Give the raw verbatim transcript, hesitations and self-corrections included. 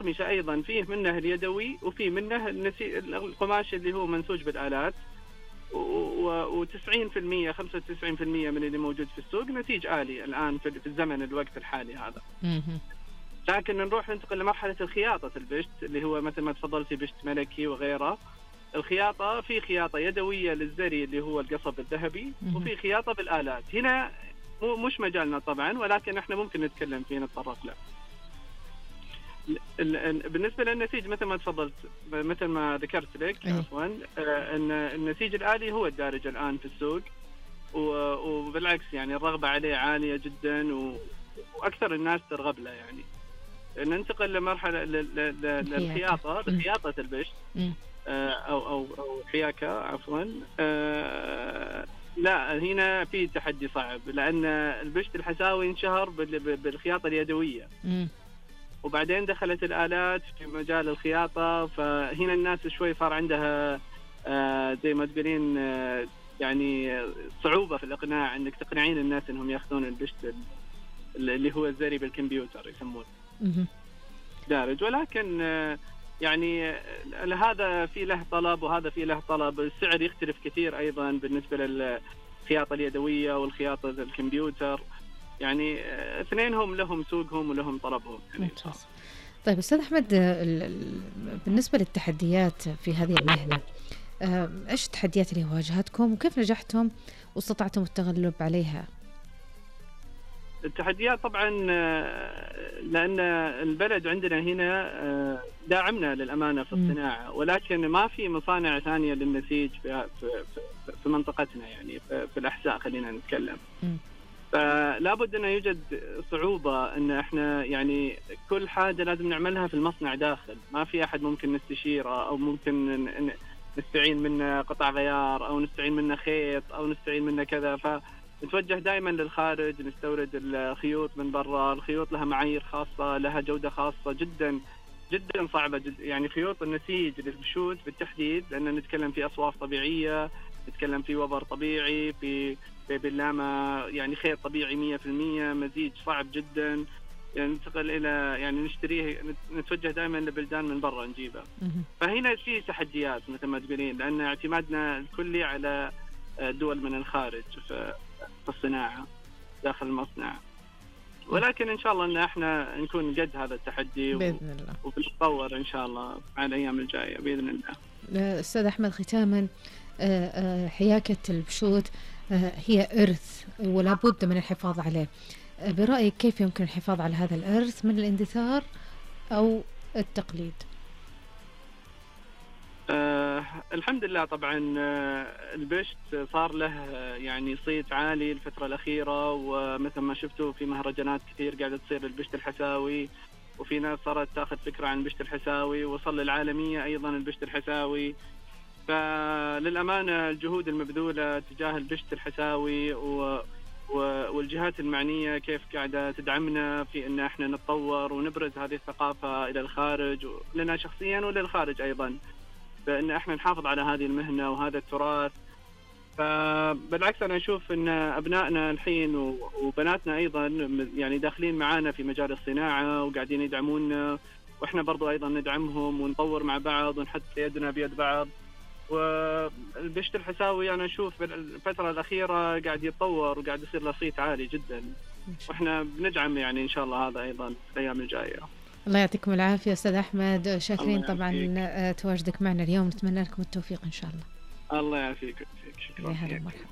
الأقمشة أيضا فيه منه اليدوي وفيه منه النسي... القماش اللي هو منسوج بالآلات، وتسعين في المية خمسة وتسعين في المية من اللي موجود في السوق نسيج آلي الآن في الزمن الوقت الحالي هذا. لكن نروح ننتقل لمرحلة الخياطة البشت اللي هو مثل ما تفضلتي بشت ملكي وغيره. الخياطة في خياطة يدوية للزري اللي هو القصب الذهبي، وفي خياطة بالآلات. هنا مو مش مجالنا طبعا، ولكن احنا ممكن نتكلم فيه نتطرق له. بالنسبة للنسيج مثل ما تفضلت مثل ما ذكرت لك عفوا ان النسيج الآلي هو الدارج الآن في السوق، وبالعكس يعني الرغبة عليه عالية جدا وأكثر الناس ترغب له. يعني ننتقل لمرحلة للخياطة بخياطة البشت أو أو أو حياكة عفوا. لا هنا في تحدي صعب، لأن البشت الحساوي انشهر بالخياطة اليدوية، وبعدين دخلت الآلات في مجال الخياطة، فهنا الناس شوي صار عندها زي ما تقولين يعني صعوبة في الإقناع إنك تقنعين الناس إنهم يأخذون البشت اللي هو الزري بالكمبيوتر يسمونه دارج. ولكن يعني هذا في له طلب وهذا في له طلب. السعر يختلف كثير أيضا بالنسبة للخياطة اليدوية والخياطة الكمبيوتر، يعني اثنينهم لهم سوقهم ولهم طلبهم. يعني طيب أستاذ أحمد، بالنسبة للتحديات في هذه المهنة، إيش التحديات اللي واجهتكم وكيف نجحتم واستطعتم التغلب عليها؟ التحديات طبعا لأن البلد عندنا هنا داعمنا للأمانة في الصناعة، ولكن ما في مصانع ثانية للنسيج في, في, في منطقتنا، يعني في الأحساء خلينا نتكلم. فلا بد أن يوجد صعوبة أن احنا يعني كل حاجة لازم نعملها في المصنع داخل، ما في أحد ممكن نستشيره أو ممكن نستعين منه قطع غيار أو نستعين منه خيط أو نستعين منه كذا. فنتوجه دائما للخارج، نستورد الخيوط من برا. الخيوط لها معايير خاصة، لها جودة خاصة جدا جدا صعبة جدا. يعني خيوط النسيج للبشوت بالتحديد، لأن نتكلم في أصواف طبيعية، نتكلم في وبر طبيعي، في باللامة يعني خيط طبيعي مية في المية، مزيج صعب جدا. يعني ننتقل إلى يعني نشتريه، نتوجه دائما لبلدان من برا نجيبه. فهنا في تحديات مثل ما تقولين، لأن اعتمادنا الكلي على دول من الخارج في الصناعة داخل المصنع. ولكن إن شاء الله أن احنا نكون قد هذا التحدي بإذن الله، وبنتطور إن شاء الله على الأيام الجاية بإذن الله. أستاذ أحمد، ختاما، حياكة البشوت هي إرث ولا بد من الحفاظ عليه. برأيك كيف يمكن الحفاظ على هذا الإرث من الاندثار أو التقليد؟ آه الحمد لله طبعا آه البشت صار له يعني صيت عالي الفترة الأخيرة، ومثل ما شفتوا في مهرجانات كثير قاعدة تصير البشت الحساوي، وفي ناس صارت تاخذ فكرة عن البشت الحساوي، وصل للعالمية أيضا البشت الحساوي. فللأمانة الجهود المبذولة تجاه البشت الحساوي و والجهات المعنية كيف قاعدة تدعمنا في أن احنا نتطور ونبرز هذه الثقافة إلى الخارج، لنا شخصيا وللخارج أيضا، بأن احنا نحافظ على هذه المهنة وهذا التراث. فبالعكس أنا أشوف أن أبنائنا الحين وبناتنا أيضا يعني داخلين معانا في مجال الصناعة وقاعدين يدعموننا، وإحنا برضو أيضا ندعمهم ونطور مع بعض ونحط يدنا بيد بعض. والبشت الحساوي أنا أشوف الفترة الأخيرة قاعد يتطور وقاعد يصير له صيت عالي جدا، وإحنا بندعم يعني إن شاء الله هذا أيضا في الأيام الجاية. الله يعطيكم العافية أستاذ أحمد، شاكرين طبعا تواجدك معنا اليوم، نتمنى لكم التوفيق إن شاء الله. الله يعافيك. شكرا. يا هلا ومرحبا.